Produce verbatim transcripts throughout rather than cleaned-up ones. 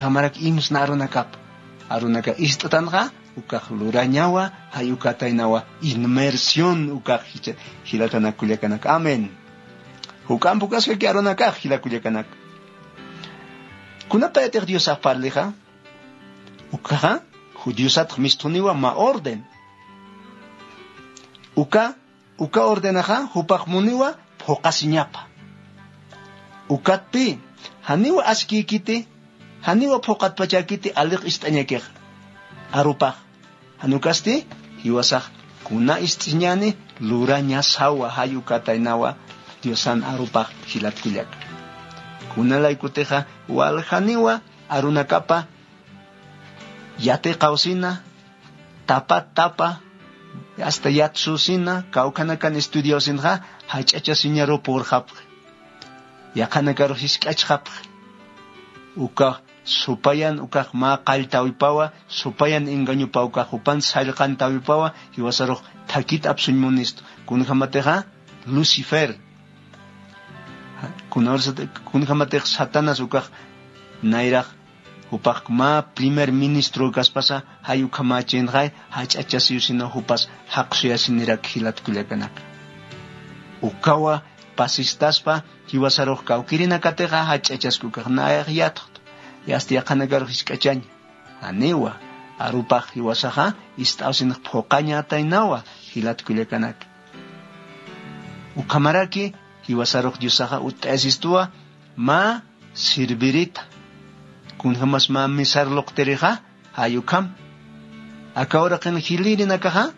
Jamarak imsna arunakap. Arunaka ist'tanxa, ukax lurañawa, jay ukataynawa, inmersión ukax jicha-, jilatanak kullakanaka. Amén. Juk'amp ukaskaki arunakax jila kullakanaka. Kunapayatix Diosax parlixa, ukaxa, ju-, Diosatx misthuniwa mä orden. Uka, uka ordenaxa, jupax muniwa phuqasiñapa. Ukatpï, janiwa askïkiti, janiwa phuqatpachäkiti alix ist'añakix. Arupax. Jan ukasti, jiwasax kuna ist'iñäni lurañasawa, jay ukataynawa Diosan arupax jilat kullaka. Kuna laykutixa, waljaniwa arunakapa yatiqaw sina, tapat tapa, hasta yatsuw sina, kawkhanakan estudiaw sinxa, jach'achasiñaru purxapxi. Yaqhanakarux jisk'achxapxi. Uka supayan ukax mä qalltawipawa, supayan engañupaw ukax jupan sallqantawipawa, jiwasarux thakit apsuñ munistu. Kunjamatixa Lucifer. Kunawrisat-, kunjamatix Satanás ukax nayrax jupax mä primer ministro kaspasa, jay ukhamächinxay, jach'achasiw sina jupas jaqsuyasinirak jilat kullakanaka. Ukawa pasistaspa, jiwasarux kawkirinakatixa jach'achaski ukax nayax yatxtu. Yasta yaqhanakarux jisk'achaña. Janiwa, arupax jiwasaxa ist'awsinx phuqañataynawa, jilat kullakanaka. Ukhamaraki, jiwasarux Diosaxa utt'ayasistuwa, mä sirvirita. Kunjamas mä mesar luqtirixa, jay ukham. Aka uraqin jilïrinakaxa,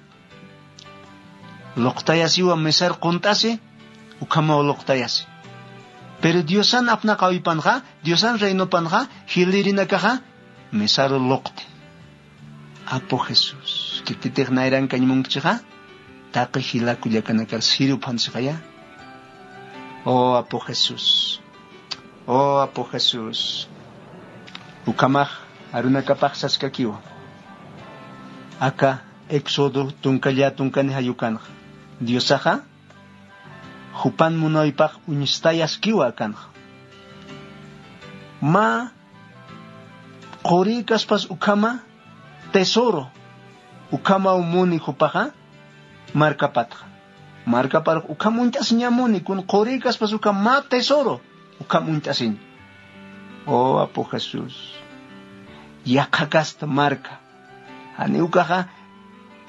luqtayasiwa mesar qunt'asi, ukhamaw luqtayasi. Pero Diosan apnaqawipanxa, Diosan reinopanxa, jilïrinakaxa, mesaru luqti. Apu Jesús, khititix nayrankañ munkchixa, taqi jila kullakanakar siruphansixaya. Oh Apu Jesús, oh Apu Jesús. Ukhamax arunakapax saskakiwa. Aka Éxodo tunka llätunkani jay ukanxa. Diosaxa, jupan munawaypax uñstayaskiwa akanxa. Mä qurïkaspas ukhama tesoro, ukhamaw muni jupaxa markapatxa. Markaparux ukham uñt'asiñamuni, kun qurïkaspas ukham mä tesoro, ukham uñt'asiñ. Oh, Apu Jesús. Yaqha kasta marka. Jani ukaxa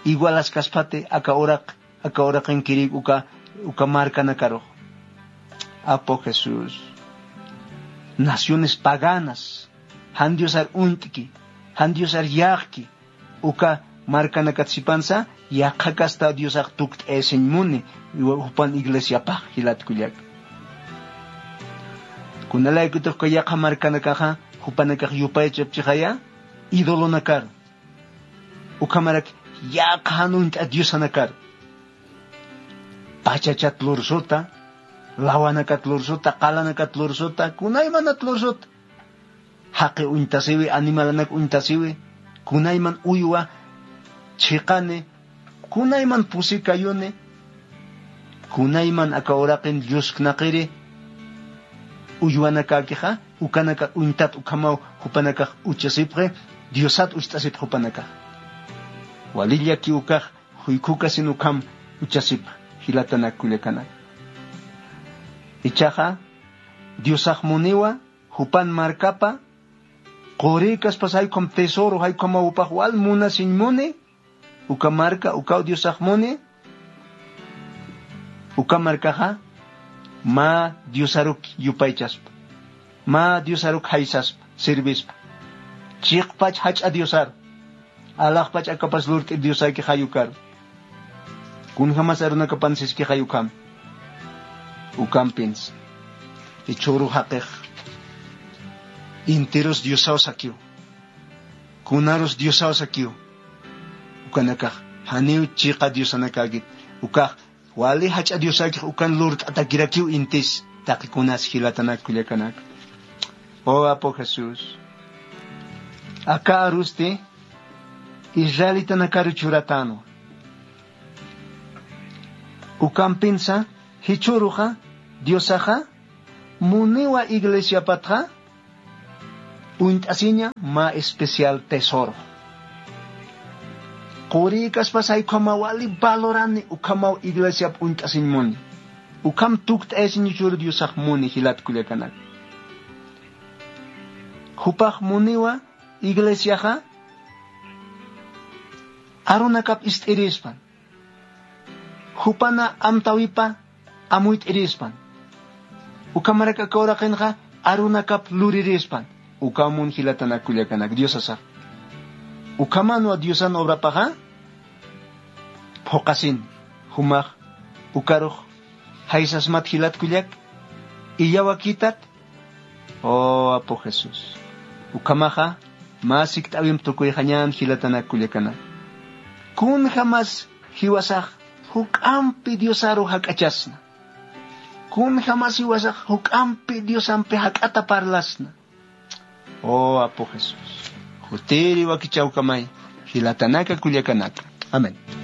igualaskaspati aka uraq, aka uraqinkirïk uka, uka markanakarux. Apu Jesús. Naciones paganas. Jan Diosar uñt'ki. Jan Diosar yäqki. Uka markanakat sipansa, yaqha kasta Diosax tukt'ayasiñ muni, jupan iglesiapax jilat kullaka. Kunalaykutix uka yaqha markanakaxa, jupanakax yupaychapchixaya, idolonakar. Ukhamarak yaqha jan uñt'a diosanakar. Pachachat lursuta, lawanakat lursuta, qalanakat lursuta, kunaymanat lursuta. Jaqi uñtasiwi, animalanak uñtasiwi, kunayman uywa chiqani, kunayman pusi kayuni, kunayman aka uraqin llusknaqiri uywanakäkixa, ukanaka uñtat ukhamaw jupanakax uchasipxi, Diosat ucht'asipxi jupanakax. Wali llaki ukax, juykhukasin ukham uchasipxi, jilatanak kullakanak. Ichaxa, Diosax muniwa, jupan markapa, qurïkaspas jaykham tesoro, jaykhamaw jupax wal munasiñ muni, uka marka, ukaw Diosax muni, uka markaxa, mä Diosaruk yupaychaspa, mä Diosaruk jaysaspa, sirvispa. Chiqpach jach'a Diosar, alaxpach akapas lurt'ir Diosaki jayukar. Kunjamas arunakapan siski jayukham. Ukampins. Jichhüru jaqix. Intirus Diosaw sakiw. Kunarus Diosaw sakiw. Ukanakax. Janiw chiqa Diosanakäkit. Ukax. Wali jach'a Diosakix ukan lurt'atakirakiw intis. Taqi kunas jilatanak kullakanak. Oh, Apu Jesús. Aka arusti. Israelitanakaru churatänwa. Ukampinsa, jichhüruxa, Diosaxa, muniwa iglesiapatxa, Uñt'asiña mä especial tesoro. Qurïkaspas jaykhamaw wali valorani ukhamaw iglesiap uñt'asiñ muni. Ukham tukt'ayasiñ chur diosax muni jilat kullakanak. Jupax muniwa iglesiaxa arunakap ist'irispan. Jupana amtawipa amuyt'irispan. Ukhamarak aka uraqinxa arunakap luririspan. Ukamun jilatanak kullakanak diosasax. Ukhamanwa diosan obrapaxa phuqasin. Jumax ukarux jaysasmat jilat kullak illawakitat. Oh apu jesús. Ukhamaxa mä sikt'äwimp tukuyxañän jilatanak kullakanak. Kunjamas jiwasax juk'ampi diosaru jak'achasna. Kunjamas jiwasax juk'ampi diosampi jak'ata parlasna. Oh apu jesús. Jutiri wakichawkamay jilatanaka kullakanaka. Amén.